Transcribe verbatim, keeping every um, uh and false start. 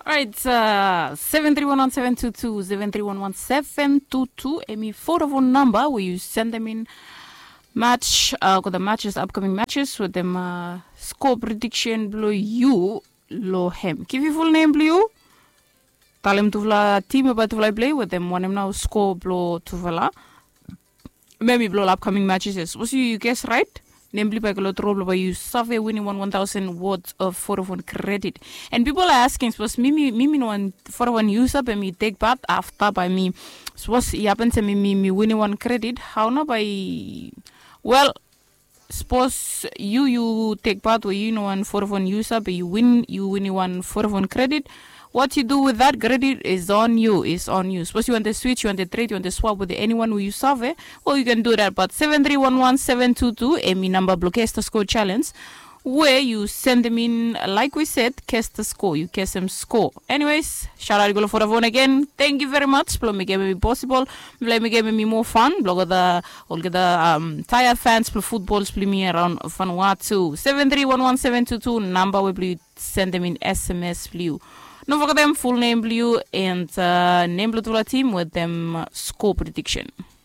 Alright, uh, seven three one one seven two two, seven three one one seven two two, emi Vodafone namba we yu sendem in match, uh, ko the matches, upcoming matches wetem uh, score prediction blo yu. Lo hem, give yu full name blo yu. Talem tufala tim we bae tufala i plei wetem wanem nao score blo tufala. Memi blo ol upcoming matches ya, sapos yu ges rait, nem blo yu bae i go lo dro blo bae yu save winim wan one thousand worth of Vodafone credit. And pipol are asking, sapos mi mi mi mi no wan Vodafone user be mi tek pat afta bae mi, sapos i hapen se mi mi mi winim wan credit, hao nao bae? Wel, sapos yu yu tek pat we yu no wan Vodafone user be yu win, yu winim wan Vodafone credit. What you do with that credit is on you, is on you. Sapos yu wante switch, yu wante trade, yu wante swap with anyone we yu save, well, yu can do that. But seven three one one seven two two emi namba blo Kesta Score Challenge, we yu sendem in, like we said, Kesta Score, yu kesem score. Anyways, shout out i go lo Vodafone again. Thank you very much blo mekem emi possible, blo mekem emi more fun blo olgeta, olgeta um, tired fans blo footballs blo mi around Vanuatu. Seven three one one seven two two namba we blo yu sendem in S M S blo yu. No fogetem full name blo yu and uh, name blo tufala tim wetem score prediction.